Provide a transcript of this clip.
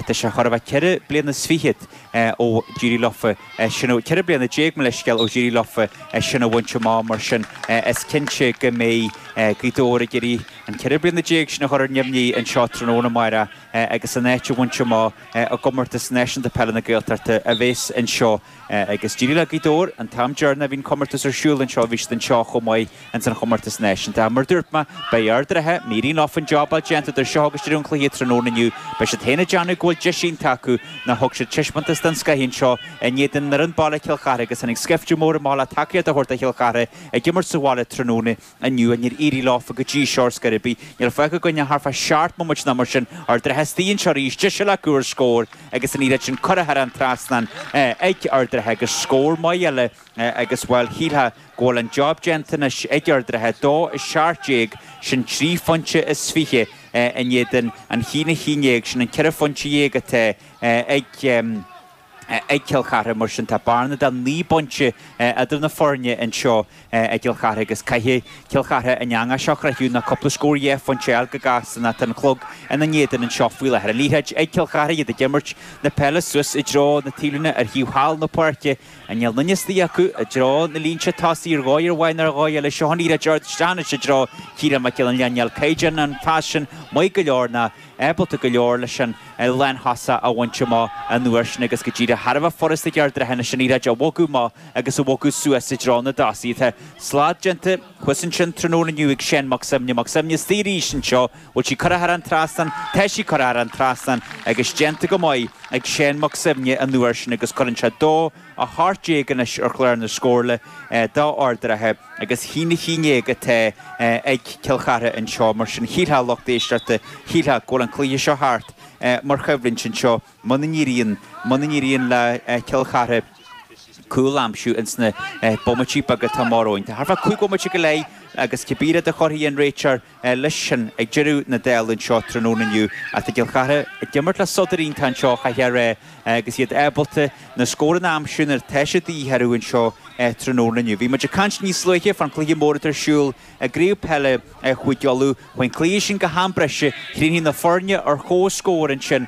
Tá sé chóir a bheith ceithre bliana is fichead ó d'éirigh leofa sin, 14 bliana, mo leithscéal, ó d'éirigh leofa sin a bhaint amach, mar sin is cinnte go mbeidh Gaoth Dobhair ag iarraidh an 14 bliana sin a chur ar neamhní anseo tráthnóna amárach agus an áit a bhaint amach i gComórtas Náisiúnta Peile na Gaeltachta a bheas anseo. Agus d'éirigh le Gaoth Dobhair an t-am deireanach a bhí an comórtas ar siúl anseo, bhí siad anseo chomh maith ins an chomórtas náisiúnta. Mar a dúirt mé, beidh Ard an Rátha, má éiríonn leofa an jobáil déanta idir seo agus deireadh an chluiche tráthnóna inniu, beidh siad féin ag déanamh go bhfuil deis iontach acu nó thug siad taispeántas den scoith anseo in éadan fhoireann baile Chill Chartha agus tháinig scaifte mór amach le tacaíocht a thabhairt do Chill Chartha ag imirt sa bhaile tráthnóna inniu. Níor éirigh leofa go dtí seo ar scor ar bith. Níl fágtha againn ach thart fá sheacht mbomaite nó mar sin. Ard an Rátha istigh anseo arís. Deis eile acu ar scór agus an liathróid sin curtha thar an trasnán ag Ard an Rátha agus scór maith eile agus, bhuel, shílfeá go bhfuil an job déanta anois ag Ard an Rátha. 2-17, sin trí phointe is fiche in éadan an 1-11, sin an ceithre phointe dhéag atá ag. ag Cill Chartha. Mar sin, tá bearna de 9 bpointe idir na foirne anseo i gCill Chartha agus caithfidh Cill Chartha an eangach seo a chroitheadh nó cúpla scór dhá phointe a fháil go gasta nó tá an clog ina n-éadan anseo faoi láthair. An liathróid ag Cill Chartha, iad ag imirt na peile suas i dtreo na taobhlíne ar thaobh thall na páirce. Níl aon duine istigh acu i dtreo na línte tosaigh ar dhóigh amháin nó ar dhóigh eile. Seo an liathróid ard isteach anois i dtreo Chiarán Mac Giolla Léith. Níl caighdeán an phas sin maith go leor ná ábalta go leor leis an lánthosach a bhaint amach an uair sin agus go díreach thar a bheith furasta ag Ard an Rátha anois an liathróid a bhogadh amach agus a bhogadh suas i dtreo na dtosaithe. Tá slad déanta thuas ansin tráthnóna inniu ag Seán Mac Suibhne. Mac Suibhne istigh arís anseo. Bhfuil sí curtha thar an trasnán? Tá sí curtha thar an trasnán agus déanta go maith ag Seán Mac Suibhne an uair sin agus cuireann sé 2-18 anois ar chlár na scórála do Ard an Rátha agus 1-11 atá ag Cill Chartha anseo. Mar sin, shílfeá, lucht éisteachta, shílfeá go bhfuil an cluiche seo thart mar choimhlint anseo muna n-éiríonn, muna n-éiríonn le Cill Chartha cúl a aimsiú ins na bomaití beaga atá amach romhainn. Tá thart fá 5 bhomaite go leith agus cibé rud a chuirfidh an réiteoir leis sin ag deireadh na dála anseo tráthnóna inniu. Ach tá Cill Chartha ag imirt le sodar iontach anseo, chaithfeá a rá, agus iad ábalta na scóranna a aimsiú nuair atá sé de dhíth orthu anseo tráthnóna inniu. Bhí muid ag caint níos luaithe fán chluiche mór atá ar siúl i gCraobh Peile Chúige Uladh. Chuaigh an cluiche sin go ham breise, chríochnaigh na foirne ar comhscór ansin.